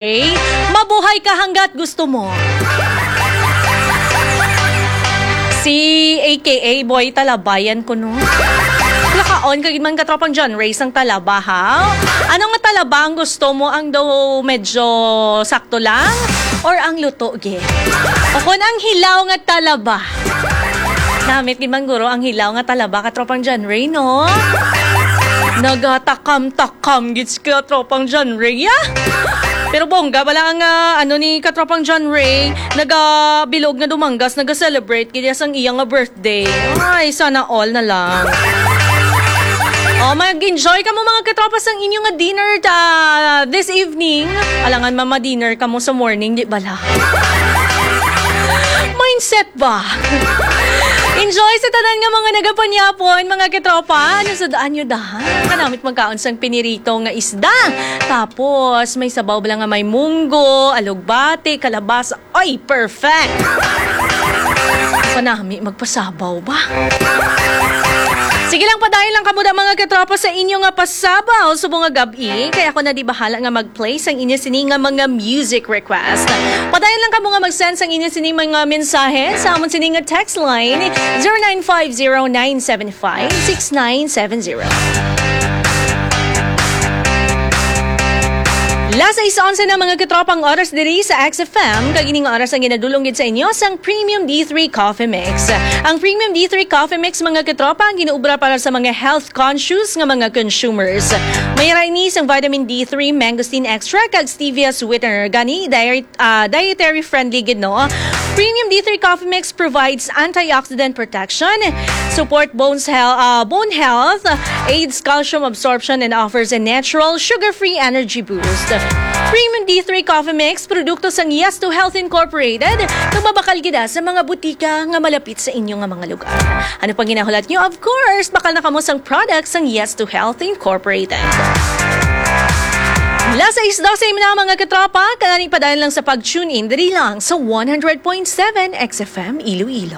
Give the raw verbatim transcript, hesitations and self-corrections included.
Okay? Mabuhay ka hanggat gusto mo. Si A K A Boy Talabayan ko, no? Lakaon ka gid man, katropang John Ray, sang talaba, ha? Ano nga talaba ang gusto mo? Ang daw medyo sakto lang? Or ang luto, ge? O kung ang hilaw nga talaba? Namit gid man guro ang hilaw nga talaba, katropang John Ray, no? Nagatakam-takam gid si katropang John Ray, ah. Pero bongga bala ang, ah, ano ni katropang John Ray, nagabilog nga dumanggas, naga-celebrate gid sang iya nga birthday. Ay, sana all na lang. Oh, mag-enjoy kamo, mga katropa, sang inyo nga dinner ta this evening. Alangan mama dinner kamo sa morning, di bala? Mindset ba? Enjoy sa tanan nga mga nagapanyapon, mga katropa. Ano sa daan nyo dahan? Kanamit magkaon sang pinirito nga isda. Tapos, may sabaw bala nga may munggo, alugbati, kalabasa. Ay, perfect! Panami magpasabaw ba? Sige lang, padayon lang kamo da, mga katropa, sa inyo nga pasabaw subong nga gab-i. Kaya ako na di bahala nga mag-play sang inyo sini nga mga music request. Padayon lang kamo nga mag-send sang inyo sini mga mensahe sa amon sini nga text line, zero nine five zero nine seven five six nine seven zero. Las sais onse na, mga katropa, ang oras diri sa X F M, kag ining oras ang ginadulong gid sa inyo sang Premium D three Coffee Mix. Ang Premium D three Coffee Mix, mga katropa, ang ginuobra para sa mga health conscious nga mga consumers. May ra ini sang vitamin D three, mangosteen extract, kag stevia sweetener. Gani, diet, ah, dietary friendly gid, no? Premium D three Coffee Mix provides antioxidant protection, support bones health, ah, bone health, aids calcium absorption, and offers a natural sugar-free energy boost. Premium D three Coffee Mix, produkto sang Yes to Health Incorporated, nga mabakal gid sa mga butika nga malapit sa inyo nga mga lugar. Ano pang ginahulat nyo? Of course, bakal na kamo sang product sang Yes to Health Incorporated. Las sais dose na, mga katropa, kagani padayon lang sa pag-tune in diri lang sa one hundred point seven X F M Iloilo.